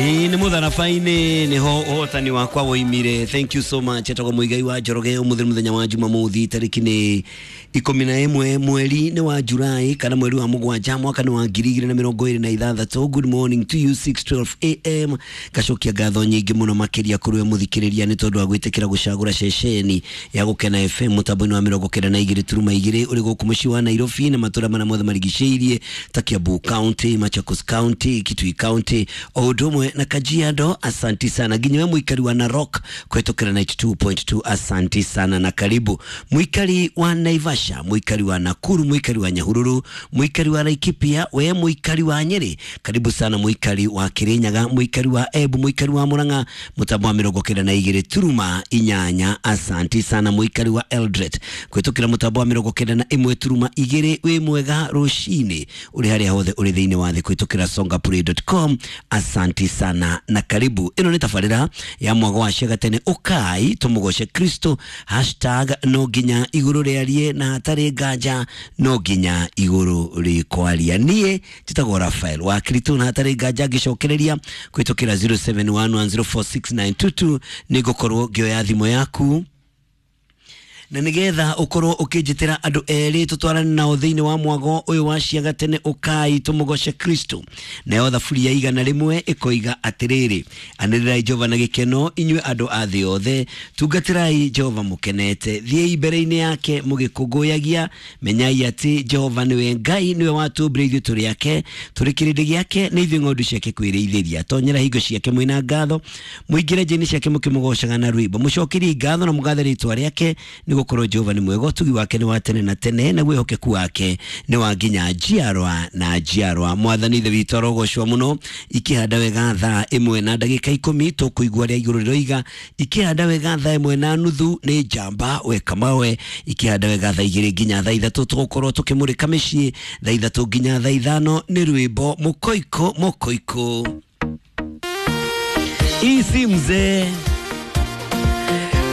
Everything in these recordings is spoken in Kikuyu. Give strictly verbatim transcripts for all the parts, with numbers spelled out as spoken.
Ĩĩ nĩ mũtharaba-inĩ nĩho ũhotani wakwa woimire. Thank you so much. Etagwo Mũigai wa Njoroge. Ũmũthĩ nĩ mũthenya wa Jumamothi, tarĩki nĩ ikũmi na ĩmwe mweri nĩ wa Julai kana mweri wa mũgwanja mwaka nĩ wa ngiri igĩrĩ na mĩrongo ĩrĩ na ithathatũ. Good morning to you, six twelve a m. Ngacokia ngatho nyingĩ mũno makĩria kũrĩ we mũthikĩrĩria nĩ tondũ wa gwĩtĩkĩra gũcagũra ceceni ya Gũkena F M mũtambo-inĩ wa mĩrongo kenda na igĩrĩ turuma igĩrĩ ũrĩ gũkũ mũciĩ wa Nairobi na matũra marĩa mothe marigicĩirie ta Kiambu County, Machakos County, Kitui County o ũndũ ũmwe na Kajiado. Asanti sana nginya we mũikari wa Narok kũhetũkĩra ninety-two point two, asanti sana na karibu. Mũikari wa Naivasha, mũikari wa Nakuru, mũikari wa Nyahururu, mũikari wa Laikipia, we mũikari wa Nyeri, karibu sana. Mũikari wa Kirinyaga, mũikari wa Embu, mũikari wa Murang'a, mũtambo wa mĩrongo kenda na igĩrĩ turuma inyanya, asanti sana. Mũikari wa Eldoret kũhetũkĩra mũtambo wa mĩrongo kenda na ĩmwe turuma igĩrĩ, wĩ mwega rũcinĩ ũrĩ harĩa hothe ũrĩ thĩinĩ wa thĩ kũhetũkĩra songapure dot com, asanti sana na karibu. Ĩno nĩ tabarĩra ya mwago wa ciagatene, ũkai tũmũgoce Kristo, hashtag no nginya igũrũ rĩarie na hatarĩ nganja no nginya igũrũ rĩkwaria. Niĩ njĩtagwo Rafael wa Kristo na hatarĩ nganja ngĩcokereria kũhetũkĩra zero seven one one zero four six nine two two nĩ ngũkorwo ngĩoya thimũ yaku na nigetha ukorwo ukinjitira andu eri tutwarane nao thiini wa mwago uyu wa ciaga tene, ukai tumugoce Kristo. Nayo thaburi ya igana rimwe ikoiga atiriri, anĩrĩrai Jehova na gĩkeno inyuĩ andũ a thĩ yothe, tungatĩrai Jehova mũkenete, thiĩi mbere-inĩ yake mũgĩkũngũyagia. Menyai atĩ Jehova nĩwe Ngai, nĩwe watũmbire, ithuĩ tũrĩ ake, tũrĩ kĩrĩndĩ gĩake, nĩ ithuĩ ng'ondu ciake kwĩrĩithĩria. Tonyera hingo ciake mwĩna ngatho, mũingĩre njĩra-inĩ ciake mũkĩmũgocaga na rwĩmbo. Mũcokerie ngatho na mũgathe rĩtwa rĩake, nĩ gũkorwo Jehova nĩ mwega, ũtugi wake nĩ wa tene na tene, naguo wĩhokeku wake nĩ wa nginya njiarwa na njiarwa. Mwathani Ithe witũ arogocwo mũno. Ikĩhanda wega thaa ĩmwe na ndagĩka ikũmi tũkũigua rĩa igũrũ rĩroiga. Ikĩhanda wega thaa ĩmwe na nuthu nĩ njamba weka mawe. Ikĩhanda wega thaa igĩrĩ nginya thaa ithatũ tũgũkorwo tũkĩmũrĩka mĩciĩ. Thaa ithatũ nginya thaa ithano nĩ rwĩmbo mũkoiko mũkoiko ici mzee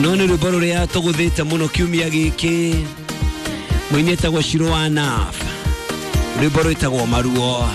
no nĩ rwĩmbo rũrĩa tũgũthĩte mũno kiumia gĩkĩ. Mũini etagwo Shiro wa Naf, rwĩmbo rwĩtagwo Maruo.